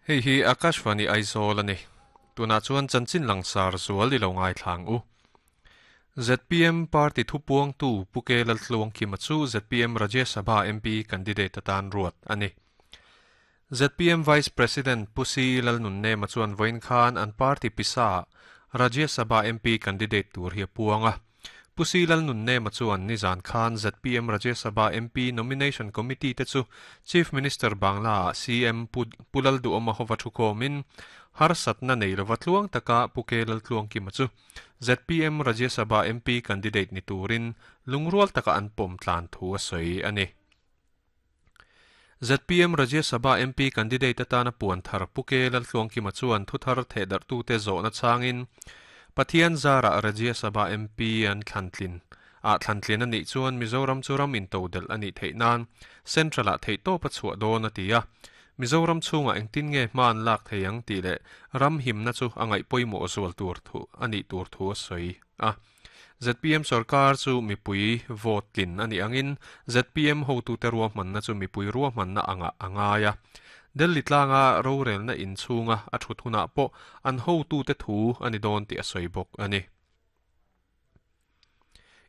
Hei hi Akashvani Aizawl a ni. Tunah chuan chanchin langsar zual i lo ngaithla ang u. Zpm party thupuangtu Pu Ke Laltluangkima chu zpm Rajya Sabha MP candidate atan ruat a ni. Zpm Vice President Pu Si Lalnunnema chuan vawiin khan an party pisa-ah Rajya Sabha MP candidate tur hi a puang a. Pu Si Lalnunnema chuan nizan khan zpm Rajya Sabha MP Nomination Committee te chu Chief Minister Bangla-ah CM Pu Pu Lalduhawma hova thukhawmin harsatna nei lova tluang taka Pu Ke Laltluangkima chu zpm Rajya Sabha MP candidate ni turin lungrual taka an pawm tlan thu a sawi a ni. Zpm Rajya Sabha MP candidate atana puan thar Pu Ke Laltluangkima chuan thuthar thehdarhtute zawhna changin Pathian zarah Rajya Sabha MP an thlantlin ah thlantlin a nih chuan Mizoram chu ram intodelh a nih theih nan Central-ah theihtawp a chhuah dawn a ti a. Mizoram chhungah engtin nge hma an lak thei ang tih leh ram himna chu a ngaih pawimawh zual tur thu a nih tur thu a sawi a. Zpm sorkar chu mipui vote tlin a nih angin zpm hotute ruahmanna chu mipui ruahmanna angah a ngai a. Delhi tlanga rorelna inchhunga a thut hunah pawh an hotute thu a ni dawn tih a sawi bawk a ni.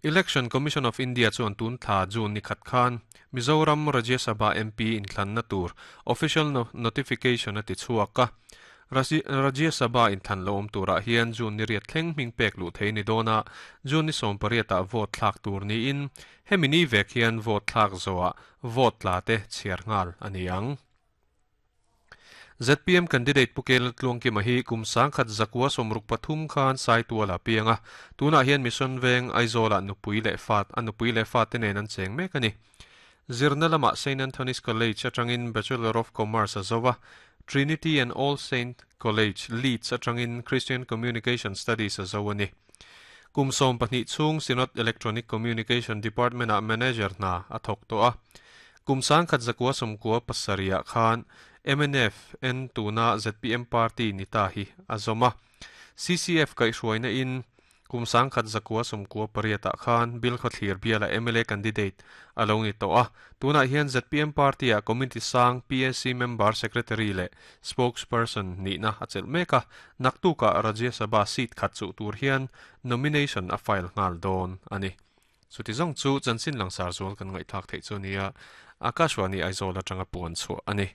Election Commission of India chuan tun thla June ni khat khan Mizoram Rajya Sabha MP inthlanna tur official notification a ti chhuak a. Rajya Sabha inthlan lo awm turah hian June ni riat thleng hming pek luh thei ni dawn a, June ni 18 ah vote thlak tur niin hemi ni vek hian vote thlak zawhah vote tla te chhiar nghal a ni ang. Zpm candidate Pu Kel Tluangkima hi kum 1963 khan Saituala piang a, tunah hian Mission Veng Aizawlah nupui leh fat a nupui leh fate nen an cheng mek a ni. Zirna lamah Saint Anthony's College atangin Bachelor of Commerce a zo a, Trinity and All Saint College, Leeds atangin Christian Communication Studies a zo a ni. Kum 12 chhung Synod Electronic Communication Department-ah manager hna a thawk tawh a. Kum 1997 ah khan mnf en tuna zpm party ni ta hi a zawm a. CCF kaihhruaina in kum 1998 ah khan Bill Khawthlir biala mla candidate a lo ni tawh a. Tunah hian zpm party ah committee sang PAC member secretary leh spokesperson nihna a chelh mek a. Naktukah Rajya Sabha seat khat chuh tur hian nomination a file nghal dawn a ni. Chuti zawng chu chanchin langsar zual kan ngaihthlak theih chu nia, Akashvani Aizawl atanga puan chhuah a ni.